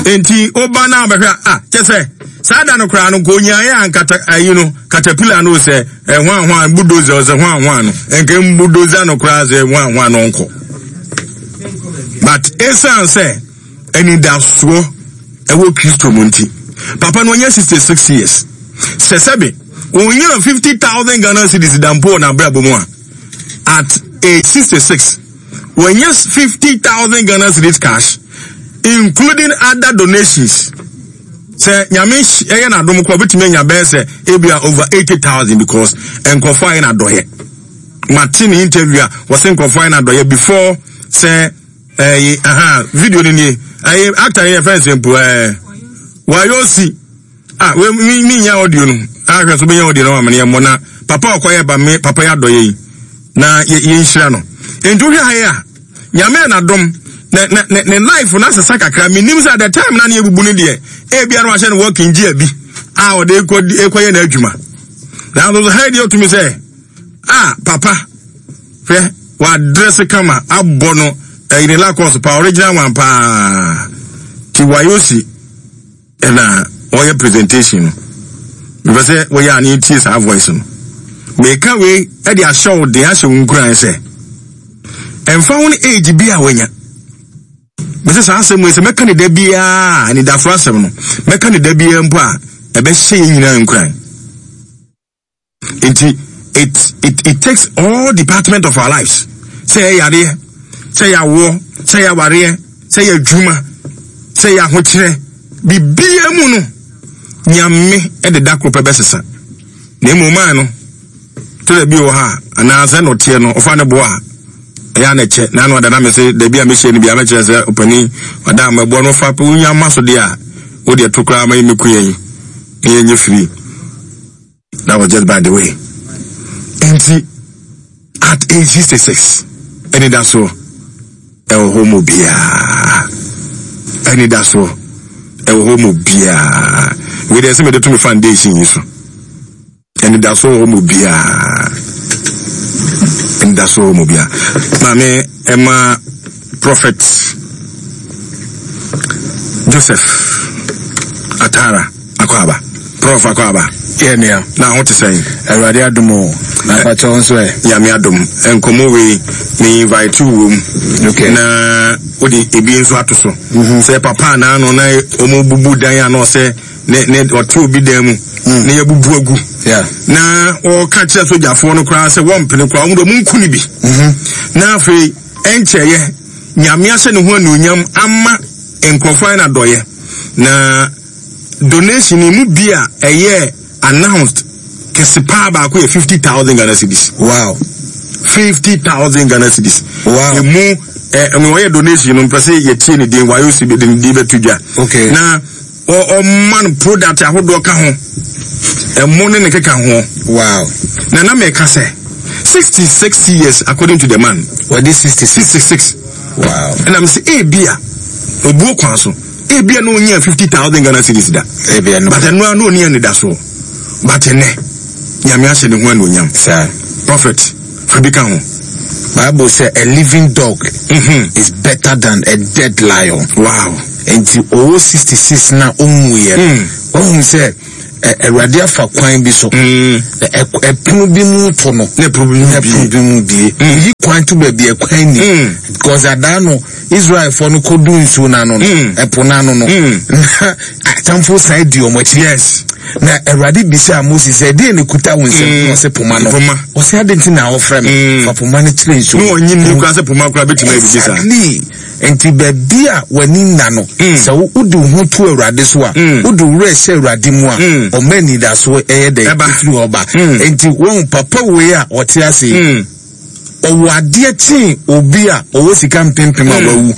Enti woba na abɛhwɛ a, ah, kyɛ sɛ saa da no koraa no nka onyaeɛ a nkata ayi no katapila no sɛ ɛhwan hwan budoza sɛ hwan hwan no nka mbudoza no koraa sɛ hwan hwan no nkɔ. But esan sɛ anidasoɔ ɛwɔ Kristo mu nti, papa no ɔnyɛ 66 years. Sɛ sɛbe onyaa 50,000 Ghana cedis da mpo wɔ n'abrabɔ mu a, at age 66 wɔnyɛ 50,000 Ghana cedis cash including other donations. Sɛ nyame ɛyɛ n'adom kɔ obetumi anya bɛyɛ sɛ ebia over 80,000 because nkurɔfoɔ ayɛ n'adɔyɛ. Mate ne interview a wɔsɛ nkurɔfoɔ ayɛ n'adɔyɛ before sɛ ɛyi aha video no nie ɛyi actor yɛ fɛn sɛ mpo ɛɛ wayosi. Ah, we mi mi nya audio no. Ah, hwɛ so bɛnya audio no ma me yɛ na papa ɔkɔ yɛ ba me papa yɛ adɔyɛ yi. Na yɛ yɛ nhyira no. Enti wohwɛ ha yi a, nyame na dom na na ne ne life na sesa kakra. Me nim sɛ at the time na ne yɛ bubu no deɛ, ebia no wahyɛ no working gear bi a ɔde ekɔ ekɔ yɛ n'adwuma. Na nso ha yi deɛ otumi sɛ, ah papa, hwɛ wadress kama abɔ no ɛyi ne lakɔs pa original one paa. Ti wayosi ɛna ɔyɛ presentation no mepɛ sɛ wɔyɛ a ne yɛtie saa voice no meka wei de ahyɛ wo den ahyɛ wo nkuran sɛ ɛmfa ho no age bi a wanya mɛsɛ saa asɛm wei sɛ mɛka ne da biara anidasoɔ asɛm no mɛka ne da biara mpo a ɛbɛhyɛ yɛn nyinaa nkuran. Nti it it it takes all department of our lives. Sɛ yɛ yareɛ, sɛ yɛ awoɔ, sɛ yɛ awareɛ, sɛ yɛ adwuma, sɛ yɛ ahokyerɛ, biribiara mu no, nyame de da koro pɛ bɛsesa. Na mmom maa no, tɛrɛ bi wɔ ha anaasɛ na ɔteɛ no, ɔfa ne boa a, ɛyɛ a na ɛkyɛ. Na ano ada na mese dabi a mehyia no bi a mɛkyerɛ sɛ ɔpanin ɔda a mɛboa no fa pɛ wonya ma so deɛ a, wodeɛ to koraa ma yɛmmɛku yɛn na yɛnyɛ free. That was just by the way. Nti at age 66 anidasoɔ ɛwɔ hɔ mu biara. Anidasoɔ ɛwɔ hɔ mu biara. Wei deɛ sɛ mede to me foundation yi so. Anidasoɔ wɔ hɔ mu biara. Anidasoɔ wɔ mu biara. Maame ɛma Prophet Joseph Atara. Akwaaba. Prof Akwaaba. Yɛ nua. Na ho te sɛn? Awurade adom o. Na apakyɛ wo nso ɛ? Nyame adom. Nkɔmmɔ wei, me invite wo wom. Okay. Na wode ebi nso ato so. Mm -hmm. Sɛ papa anaa no na wɔn bubu dan a na ɔsɛ ne ne ɔte obi dan mu. Mm. Na yɛbubu agu. Yeah. Na wɔka kyerɛ sogyafoɔ no koraa sɛ wɔmpene koraa wɔn de wɔn nku ne bi. Mm -hmm. Na afei ɛnkyɛeɛ Nyame ahyɛ ne ho anuonyam ama nkurɔfoɔ ayɛ no adɔeɛ. Na donation yi mu bi a ɛyɛ announced kɛse paa baako yɛ 50,000 Ghana cedis. Wow. 50,000 Ghana cedis. Wow. Emu eh, ɛmu ɔyɛ donation no mpɛ sɛ yɛtie ne din wayo si de ne din bɛto dwa. Okay. Na ɔma no product ahodoɔ ka ho. Ɛmo ne ne keka ho. Wow. Na na mɛka sɛ 66 years according to the man. Wɔde 66. 66. Wow. Ɛna mɛ sɛ ebi a obuo kwan so. Ebia na onyaa 50,000 Ghana cedis da. Ebia no. But ɛno ara na onni anidasoɔ. But ɛnɛ, Nyame ahyɛ ne ho anuonyam. Saa. Prophet, fa bi ka ho. Bible sɛ a living dog mm -hmm. is better than a dead lion. Wow. Nti ɔwɔ 66 na ɔnwuiɛ. Mm. Ɔhu sɛ Awurade afa kwan bi so. Mm. Ɛpono bi mu to no. Na ɛpono bi mu bie. Ɛpono bi mu bie. Mm. Oyi kwan to baabi ɛkwan ni. Mm. Because adaa no Israelfoɔ no kɔdu nsuo no ano no. Ɛpo no ano no. Na atamfo san di wɔn akyi. Yes. Na Awurade bisaa Moses sɛ ɛdeɛn na ɛkuta wo nsam? Na ɔsɛ poma no. Poma. Ɔsɛ adɛn nti na ɔfrɛ me? Fa poma no kyerɛ nsuo. Na ɔnyi nni koraa sɛ poma koraa bɛtumi ayɛ biribi saa. Exactly. Nti baabi a w'ani nna no, sɛ wode wo ho to Awurade so a, wode wo werɛ hyɛ Awurade mu a, ɔma anidasoɔ ɛyɛ dɛ ɛfiri hɔ ba. Nti wɔn papa wei a ɔte ase yi, ɔwɔ adeɛ kyɛn obi a ɔwɔ sika mpempem a wawu.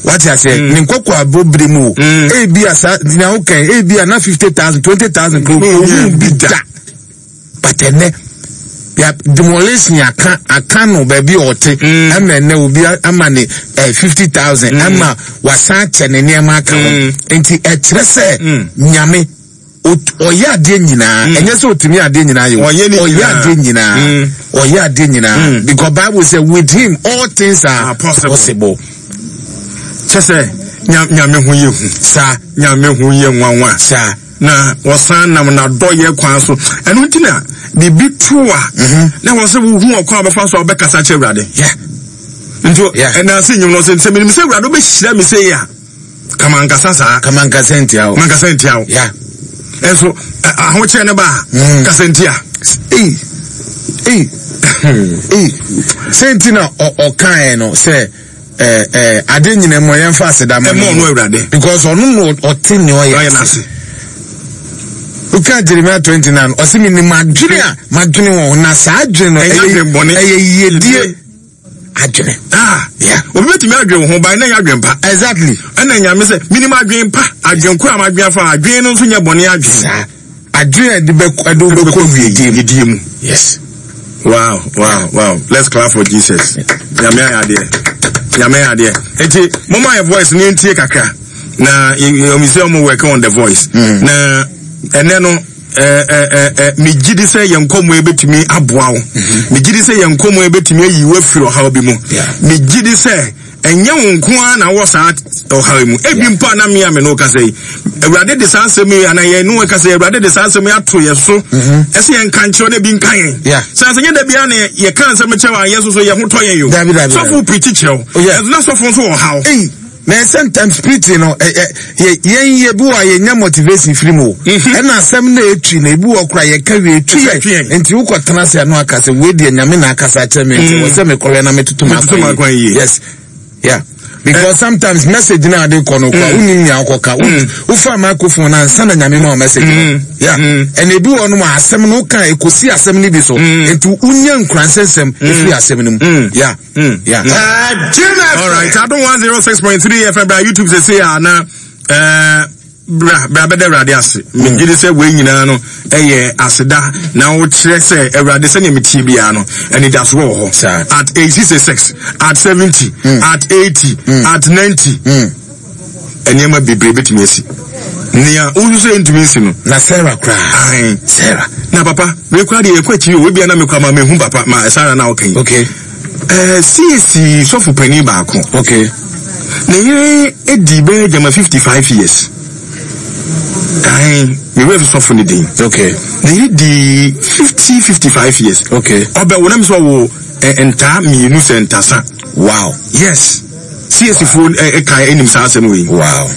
Wate aseɛ, ne nkɔkɔ abɔ bere mu o. Ebi a saa, nea wokan, ebi a na 50,000, 20,000 kuro, ɔhu bi da. But ɛnɛ ya demolition aka aka no baabi a ɔte mm. ɛna ɛnɛ obi ama ne eh, 50,000 mm. ɛma wasan akyɛ ne nneɛma aka ho mm. nti ɛkyerɛ sɛ nyame ɔyɛ adeɛ nyinaa ɛnyɛ sɛ ɔtumi adeɛ nyinaa yɛ ɔyɛ adeɛ nyinaa ɔyɛ adeɛ nyinaa because Bible sɛ with him all things are possible kyɛ sɛ. Nyame ho yɛ hu. Saa. Nyame ho yɛ nwanwa. Saa. Na wɔsan nam n'adɔyɛ kwan so. Ɛno nti na biribi to a, mhm. na wɔ sɛ wohu ɔkwan a wɔbɛfa so a wɔbɛkasa kyerɛ Awurade. Nti ɛna ase nyim no sɛ sɛ menim sɛ Awurade wobɛhyira me sɛ yi a, kama nkasa saa. Kama nkasa ntia wo. Mankasa ntia wo. Yeah. Ɛnso ahokyerɛ ne ba a, mm. kasa ntia. Ei, ei, ei. Sɛ nti na ɔkaeɛ no sɛ eh, eh, ade nyina mu yɛmfa aseda ma no Awurade. Because ɔno na ɔte nea ɔyɛ ase. Woka Jeremiah 29, ɔse menim adwene a madwene wɔn na saa adwene no ɛyɛ yiedie adwene. Ah, yeah. Obi betumi adwene wo ho ban na ɛnyɛ adwene pa. Exactly. Ɛna Nyame sɛ menim adwene pa, adwene koro a madwene afa, adwene no nso nyɛ bɔne adwene. Saa. Adwene a ɛde bɛkɔ ɛde wobɛkɔ yiedie mu. Yes. Wow. Let's clap for Jesus. Nyame ayɛ adeɛ. Nyame ayɛ adeɛ. Eti moma yɛ voice ne ntie kakra. Na yɛmi sɛ ɔmo working on the voice. Na ɛnɛ no megye di sɛ yɛn nkɔmmɔ yi bɛtumi aboa wo. Mhm. Megye di sɛ yɛn nkɔmmɔ yi bɛtumi ayi wo afiri ɔhaw bi mu. Megye di sɛ ɛnyɛ wo nko ara na wɔ saa ɔhaw yi mu. Ebi mpo a na me a me ne wo kasa yi, Awurade de saa asɛm yi anaa yɛn ne wo kasa yi, Awurade de saa asɛm yi ato yɛn so. Mhm. Ɛsɛ yɛn nka nkyerɛ na ebi nka yɛn. Sɛ asɛ nyɛ da biara na yɛka nsɛm kyerɛ a yɛn nso so yɛn ho tɔ yɛn yo. Sɔfo pirikyi kyerɛ wo. Ɛnso na sɔfo nso wɔ haw. Na sometimes preaching no ɛ ɛ yɛ yɛn yɛ bi wɔ a yɛnya motivation firi mu o mhm. ɛna asɛm na etwi na ebi wɔ kora yɛka wie etwi yɛ nti wokɔ tena ase ano aka sɛ wei deɛ Nyame na akasa akyerɛ mi nti mm. wɔ sɛ mekɔhwɛ na metoto m'akwan yie yes yeah because eh. sometimes message na ade kɔ no kɔ mm. wonim nea wokɔka mm. wofa microphone na ansa na Nyame ma wo message no yeah ɛna ebi wɔ no ma asɛm no woka ekosi asɛm no bi so nti wonya nkuransɛnsɛm efiri asɛm no mu yeah. Mm. Yeah. All right. Adom 106.3 FM bra YouTube sɛ sɛ a na eh, bra bra bɛda Awurade ase. Megye di sɛ wei nyinaa no ɛyɛ aseda na wokyerɛ sɛ Awurade sɛnea metie biara no anidasoɔ wɔ hɔ. Saa. At age 66, at 70, at 80, at 90. Nneɛma bebree bɛtumi asi. Nea wosu sɛ ɛntumi nsi no. Na Sarah koraa. Ae. Sarah. Na papa, wei koraa deɛ yɛkɔ akyiri o, ebia na mekora ma mehu papa ma Sarah na ɔka yi. Okay. Eh, CAC sɔfo panin baako. Okay. Ne yere edi bɛyɛ gyama 55 years. Ae, me werɛ fi sɔfo ne din. Okay. Ne yere di 50 55 years. Okay. Ɔbɛwo na mi sɛ ɔwɔ eh, ntaa mmienu sɛ ntasa. Wow. Yes. CAC foɔ ɛka ɛnim saa asɛm wei. Wow.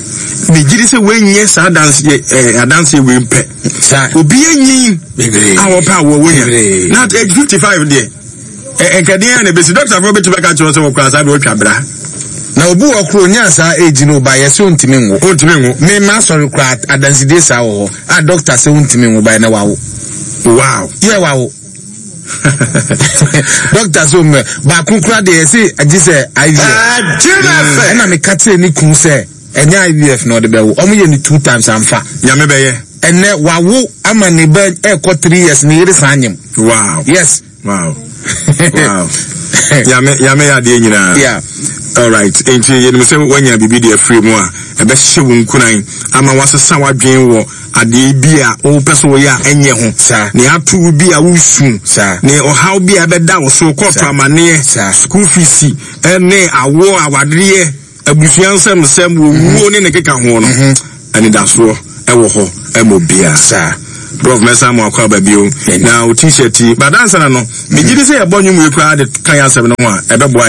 Megye di sɛ wɔnyɛ saa adanseɛ ɛɛ adanseɛ wei mpɛ. Saa. Obi anyin. Bebree. A wɔpɛ a wɔwɔ nya. Na at age 55 deɛ. Nkɛdeɛ a na ebesi dɔkta foɔ bɛtumi aka kyerɛ sɛ wɔkura saa deɛ wɔtwa bra. Na obi wɔ koro onyaa saa age no ba yɛ sɛ ontumi nwo. Ontumi nwo. Me ma asɔre kora adansidie saa wɔ hɔ a dɔkta sɛ ontumi nwo ba yɛ na wawo. Wow. Yɛ wawo. Dɔkta sɛ ɔmɛ baako kora deɛ yɛse agye sɛ IVF. Ɛna meka kyerɛ ne kun sɛ ɛnyɛ IVF na ɔde bɛwo. Ɔmo yɛ ne two times amfa. Nyame bɛyɛ. Ɛnɛ wawo ama ne ba ɛkɔ 3 years ne yere san nyem. Wow. Yes. Wow. Nyame Nyame yɛ adeɛ nyinaa. Yeah. All right. Nti yɛnim sɛ woanya biribi de afiri mu a ɛbɛhyɛ wo nkuran ama wasesa w'adwene wɔ adeɛ bi a wopɛ sɛ woyɛ a ɛnyɛ ho. Saa. Nea ato wo bi a wosu. Saa. Ne ɔhaw bi a ɛbɛda wo so kɔɔto Saa. amanneɛ. Saa. School fees ɛne awoɔ awadeɛ abusua nsɛmsɛm owuo ne ne keka ho no. Anidasoɔ ɛwɔ hɔ ɛma obiara. Saa. Prof mɛsan mo akɔ aba bio na wo t-shirt yi badansa na no megye di sɛ yɛbɔ nnwom wei koraa de ka yɛ asɛm no ho a ɛbɛboa.